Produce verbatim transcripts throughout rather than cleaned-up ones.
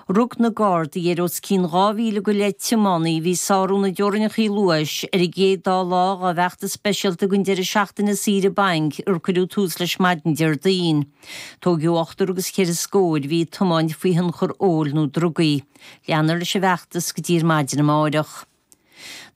Rug na Gardaí ar os cionn dhá mhíle go leith tiománaí a bhí ag sárú na dteorainneacha luais ar an gcéad dá lá dá bhfeachtas speisialta don deireadh seachtaine saoire bainc ar cuireadh tús leis maidin Déardaoin. Tóigeadh ochtar agus ceithre scór a bhí ag tiomáint faoi thionchar óil nó drugaí. Leanfar leis an bhfeachtas go dtí ar maidin amárach.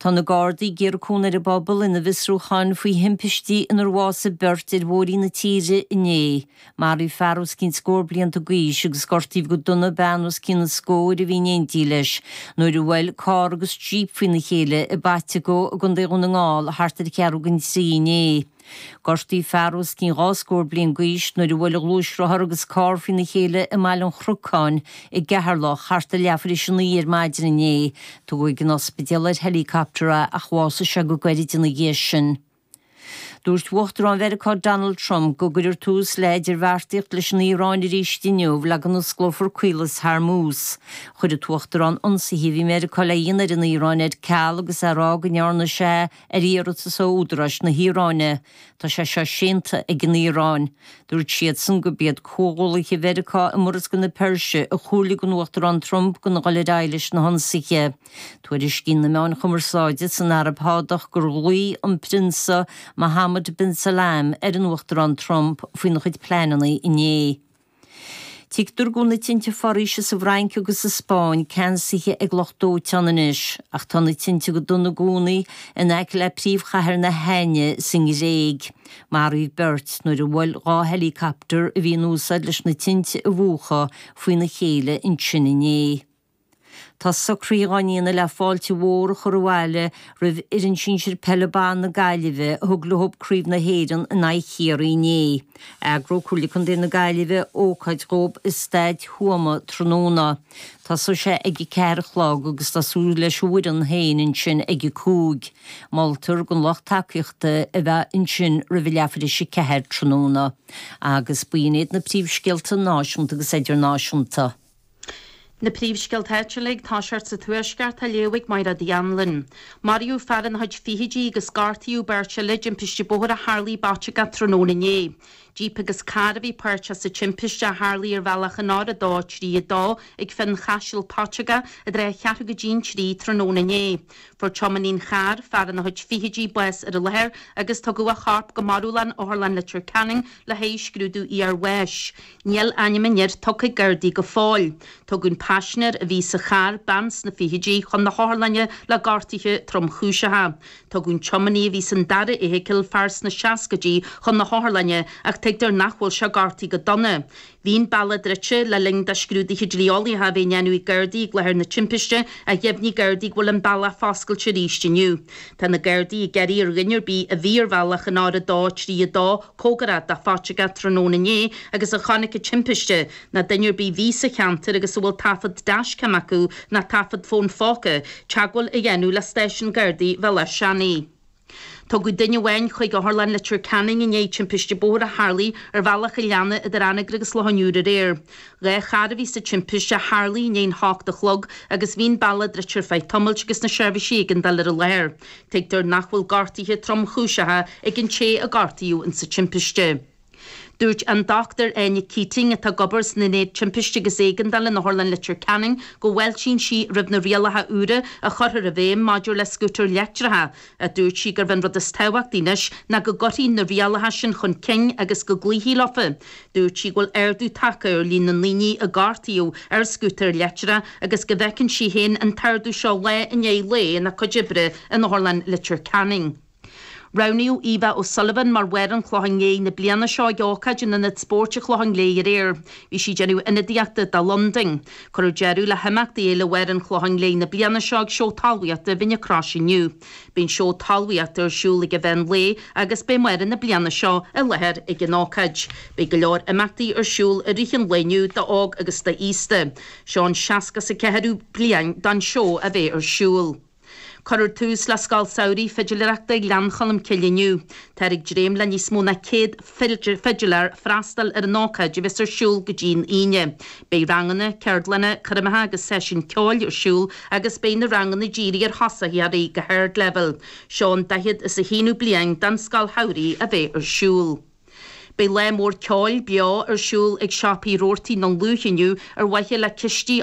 Tá na Gardaí ag iarraidh cúnamh ar an bpobal ina bhfiosrúcháin faoi thimpistí inar bhásaigh beirt ar bhóithrí na tíre inné. Maraíodh fear os cionn scór blianta d'aois agus gortaíodh go dona bean os cionn an scóir a bhí in éindí leis nuair a bhuail carr agus jíp faoina chéile i bPaiteagó i gContae Dhún na nGall thart ar cheathrú don trí inné. Gortaíodh fear os cionn dhá scór bliain d'aois nuair a bhuail a ghluaisrothar agus carr faoina chéile i mBaile an Chnocáin i gCeatharlach thart ar leathuair tar éis a naoi ar maidin inné. Tugadh ag an ospidéal ar helicopter é ach bhásaigh sé go gairid ina dhiaidh sin. Dúirt Uachtarán Mheiriceá Donald Trump go gcuirfear tús le idirbheartaíocht leis an Iaráin arís inniu le go n-osclófar Caolas Hormuz. Chuir an tUachtarán ionsaithe a bhí Meiriceá le dhéanamh ar an Iaráin ar ceal agus é ag rá go ndearna sé ar iarratas ó údaráis na hIaráine. Tá sé seo séanta ag an Iaráin. Dúirt siadsan gurb iad comhghuaillithe Mheiriceá i Murascaill na Peirse a chomhairligh an Uachtarán Trump gan a dhul ar aghaidh leis na hionsaithe. Tuairiscíonn na meáin chumarsáide san Araib Shádach gur ghlaoigh an Prionsa Mohammed bin Salman ar an Uachtarán Trump faoina chuid pleananna inné. Tuigtear go bhfuil na tinte foraoise sa bhFrainc agus sa Spáinn ceansaithe ag lucht dóiteáin anois, ach tá na tinte go dona i gcónaí in aice le príomhchathair na hAithne sa nGréig. Maraíodh beirt nuair a bhuail dhá helicopter a bhí in úsáid leis na tinte a mhúchadh faoina chéile ansin inné. Tá socruithe á ndéanamh le fáilte mhór a chur abhaile roimh fhoireann sinsir peile ban na Gaillimhe a thug leo Craobh na hÉireann in aghaidh Chiarraí inné. Eagróidh Comhairle Contae na Gaillimhe ócáid dhóibh i Staid Thuama tráthnóna. Tosóidh sé ag a ceathair a chlog agus tá súil leis an bhfoireann féin ansin ag a cúig. Moltar don lucht tacaíochta a bheith ansin roimh a leathuair tar éis a ceathair tráthnóna. Agus b'in iad na príomhscéalta náisiúnta agus idirnáisiúnta. Na príomhscéalta áitiúla ag toiseacht sa Tuaisceart á léamh ag Máire Anlin. Maraíodh fear ina chuid fichidí agus gortaíodh beirt eile i dtimpiste bóthair a tharlaigh i bPaiteagó tráthnóna inné. Jíp agus carr a bhí páirteach sa timpiste a tharlaigh ar bhealach an R a dó trí a dó ag Fionn Chaisil Paiteagó i dtreo a cheathrú go dtí an trí tráthnóna inné. Fuair tiománaí an chairr fear ina chuid fichidí bás ar an láthair agus tugadh a chorp go marúlán Otharlann Leitir Ceanainn le haghaidh scrúdú iarbháis. Níl ainm an fhir tugtha ag Gardaí go fóill. Tugadh an paisinéir a bhí sa charr bean sna fichidí chun na hotharlainne le gortuithe tromchúiseacha. Tugadh an tiománaí a bhí san dara feithicil fear sna seascaidí chun na hotharlainne ach tuigtear nach bhfuil sé gortaithe go dona. Bhí an bealach druidte le linn do scrúduithe dlí-eolaíocha a bheith á ndéanamh ag Gardaí ag láthair na timpiste ach dheimhnigh Gardaí go bhfuil an bealach foscailte arís inniu. Tá na Gardaí ag iarraidh ar dhuine ar bith a bhí ar bhealach an R a dó trí a dó cóngarach do Phaiteagó tráthnóna inné agus a chonaic an timpiste nó duine ar bith a bhí sa cheantar agus a bhfuil taifead dashcam acu nó taifead fón phóca, teagmháil a dhéanamh le stáisiún Gardaí Bhéal Átha Seanaidh. Tugadh duine amháin chuig Otharlann Leitir Ceanainn i ndiaidh timpiste bóthair a tharlaigh ar bhealach an Leanna idir Anagaire agus Loch an Iúir aréir. Dhá charr a bhí sa timpiste a tharlaigh i ndiaidh a hocht a chlog agus bhí an bealach druidte ar feadh tamaill agus na seirbhísí éigeandála ar an láthair. Tuigtear nach bhfuil gortuithe tromchúiseacha ag an té a gortaíodh insa timpiste. Dúirt an Dr Áine Keating atá ag obair san Ionad Timpiste agus Éigeandála in Otharlann Leitir Ceanainn go bhfáiltíonn sí roimh na rialacha úra a chuirfear i bhfeidhm maidir le scútair leictreacha. A dúirt sí gurb an rud is tábhachtaí anois ná go gcuirfí na rialacha sin chun cinn agus go gcloífí leofa. Dúirt sí go bhfuil ardú tagtha ar líon na ndaoine a gortaíodh ar scútar leictreach agus go bhfeiceann sí féin an t-ardú seo lá i ndiaidh lae ina cuid oibre in Otharlann Leitir Ceanainn. Roghnaíodh Eva O'Sullivan mar Mháire an Chlocháin Léith na bliana seo ag ócáid in Ionad Spóirt an Chlocháin Léith aréir. Bhí sí ag déanamh ionadaíochta do Londain. Cuireadh deireadh le himeachtaí Fhéile Mháire an Chlocháin Léith na bliana seo ag seó talmhaíochta Mhín na Croise inniu. Bíonn seó talmhaíochta ar siúl ag an mheán lae agus beidh Máire na bliana seo i láthair ag an ócáid. Beidh go leor imeachtaí ar siúl i rith an lae inniu d'óg agus d'aosta. Seo an seasca is a ceathrú bliain don seó a bheith ar siúl. Cuirfear tús le Scoil Samhraidh Fidiléireachta Ghleann Cholm Cille inniu. Táthar ag dréim le níos mó ná céad fidiléir freastal ar an ócáid a bheas ar siúl go dtí an Aoine. Beidh ranganna, ceardlanna, coirmeacha agus seisiúin ceoil ar siúl agus beidh na ranganna dírithe ar thosaitheoirí go hardleibhéal. Seo an daichead is a haonú bliain don Scoil Shamhraidh a bheith ar siúl. Beidh lá mór ceoil beo ar siúl ag siopaí Roarty i nDún Lúiche inniu ar mhaithe le cistí